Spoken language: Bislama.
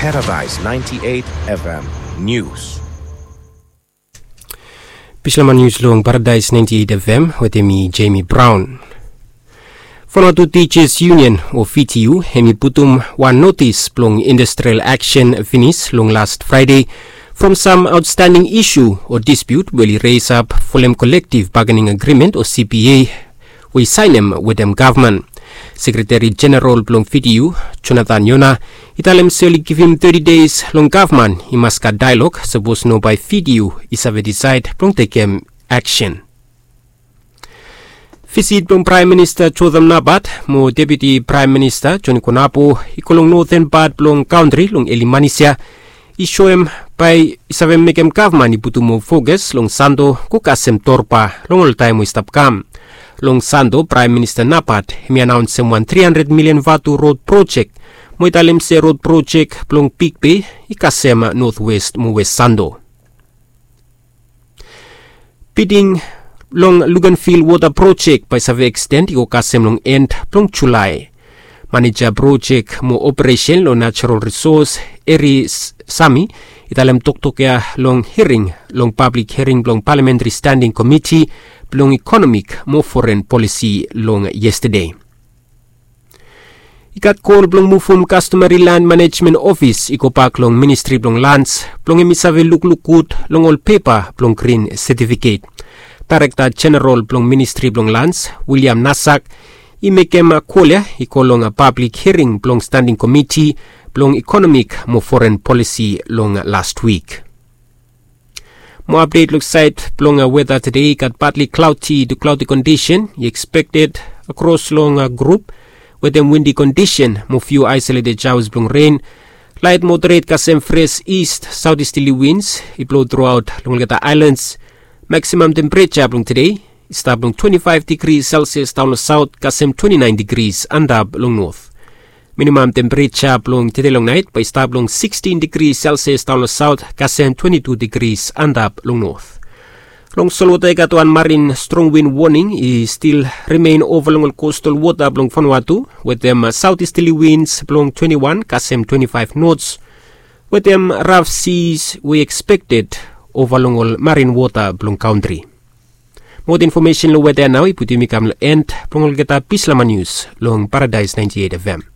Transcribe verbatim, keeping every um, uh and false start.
Paradise ninety-eight F M News. Bislama nius long Paradise ninety-eight F M wetem mi, Jamie Brown. Vanuatu Teachers Union o V T U hem i putum wan notis blong industrial action finis long last Friday from sam outstanding isu o dispute we oli raise up folem collective bargaining agreement o C B A we i sainem wetem gavman. Sekretari Jeneral blong V T U, Jonathan Yona, i talem se oli givim thirty days long gavman i mas gat dialog, sapos no bae V T U i save decide blong tekem action. Visit blong Praem Minista Jotham Napat mo Deputi Praem Minista Joni Konapo i go long noten pat blong kantri long eli manis ya i soem bae i save mekem gavman i putum moa fokus long Santo go kasem Torba long ol taem we i stap kam. Long Santo, Praem Minista Napat hem i anaonsem wan tri handred milian vatu rod projek mo i talem se rod projek blong Big Bay i kasem Notwest mo West Santo. Biding long Luganville wota projek bae i save eksten i go kasem long en blong Julae. Maneja projek mo operesen long natural risos, Eri Sami, i talem toktok ya long hiring long pablik hiring blong Palamentari Standing Komiti blong Ikonomik mo Foren Polisi long yestade. I gat kol blong muvum Kastomeri Land Manejmen Ofis i gobak long Ministri blong Lans blong hem i save lukluk gud long ol pepa blong grin setifiket. Daerekta Jeneral blong Ministri blong Lans, William Nasak, i mekem kol ya i go long pablik hiring blong Standing Komiti blong Ikonomik mo Foren Polisi long last wik. Mo apdet long saed blong weta tede, i gat partly cloudy to cloudy kondisen i ekspekted akros long grup wetem windi kondisen mo fiu aesoleted shaoas blong ren. Laet moderet kasem fres ist saotisterli wins i blo truaot long olgeta aelans. Maksimam tempereja blong tede i stap long twenti faef digri selsias daon long saot kasem twenti naen digris antap long not. Minimam tempereja blong tede long naet bae i stap long sikstin digris selsias daon long saot kasem twenti tu digris antap long not. Long solwota i gat wan marin strong win woning i stil rimen ova long ol kostal wota blong Vanuatu wetem saotisterli wins blong twenti wan kasem twenti faef nots wetem raf sis we i ekspekted ova long ol marin wota blong kantri. Moa infomesen long weta ya nao i putum mi kam long en blong olgeta bislama nius long Paradise ninety-eight F M.